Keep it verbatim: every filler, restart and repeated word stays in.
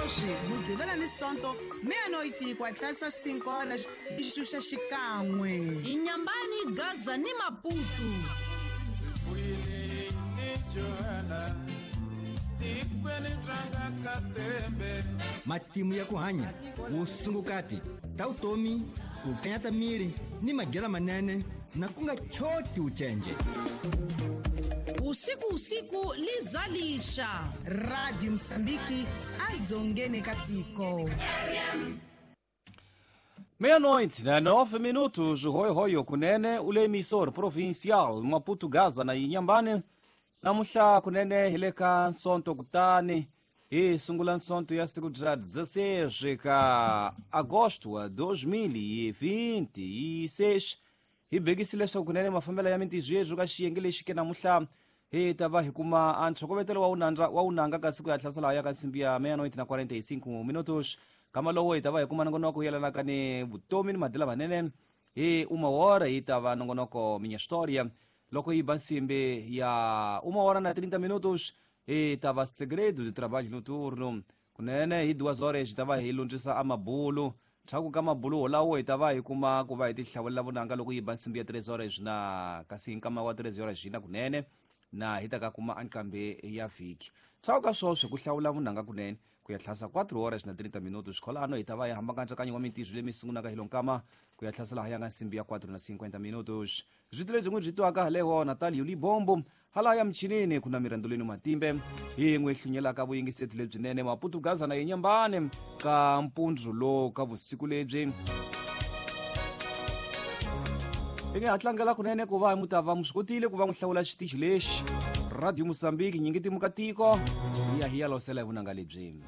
Sweswi Mugqivela ni Sonto meia-noite ku hatlisa cinco horas i xuxa xikan'we. Inyambani, Gaza ni Maputo. Matimu ya ku hanya, vusungukati ta vutomi, ku kanyata miri ni madyelo manene na ku nga choti ucenje. Usiku usiku lizalisha. Radio Moçambique adzongene katiko. Meia-noite, né? Nove minutos, Roi Roi Kunene, o emissor provincial Maputo Gaza na Inhambane. Namuhla kunene hi le ka Nsonto kutani hi sungula Nsonto ya siku ra dezesseis ka agosto dois mil e vinte e seis. Hi bekisile leswaku kunene mafambelo ya mintirho ka xiyenge lexi ke namuhla hi ta va hi kuma a ntlhokovetselo wa wunandza wa wunanga ka siku ya hlasela ya ka nsimbi ya meia-noite na quarenta e cinco minutos. Kama lowo hi ta va hi kuma nongonoko yelanaka ni vutomi ni madila manene hi uma hora hi ta va nongonoko Minha História. Loko hi ba nsimbi ya uma hora na trinta minutos hi ta va Segredo de Trabalho Noturno. Kunene hi duas horas hi ta va hi lundzisa amabulu. Ndzhaku ka mabulu wolawo hi ta va hi kuma ku va hi tihlawulela vunanga loko yi ba nsimbi ya três horas na kasi hi nkama wa três horas na kunene na hi ta ka kuma ankambe ya vhiki. Ndzhaku ka sweswo ku hlawula vunanga kunene ku ya tlhasa quatro horas na trinta minutos. Kholano hi ta va hi hamba nkatsakanyo wa mintirho leyi mi sungulaka hi lonkama ku ya tlhasela ha ya nga nsimbi ya quatro na cinquenta minutos. Byi lebyi n'wi byi twaka haleho Natalio Libombo hala ya michinini kuna mirandolweni Matimbe hi n'wi hlunyelaka vuyingiseti lebyinene Maputo Gaza na Inhambane ka mpundzu lo ka vusiku lebyi. Hi nga tlangela kunene ku va mu ta va mu swi kotile ku va n'wi hlawula xitichi lexi Radio Moçambique nyingi timuka tiko hi ya hi ya losela hi vunanga lebyi.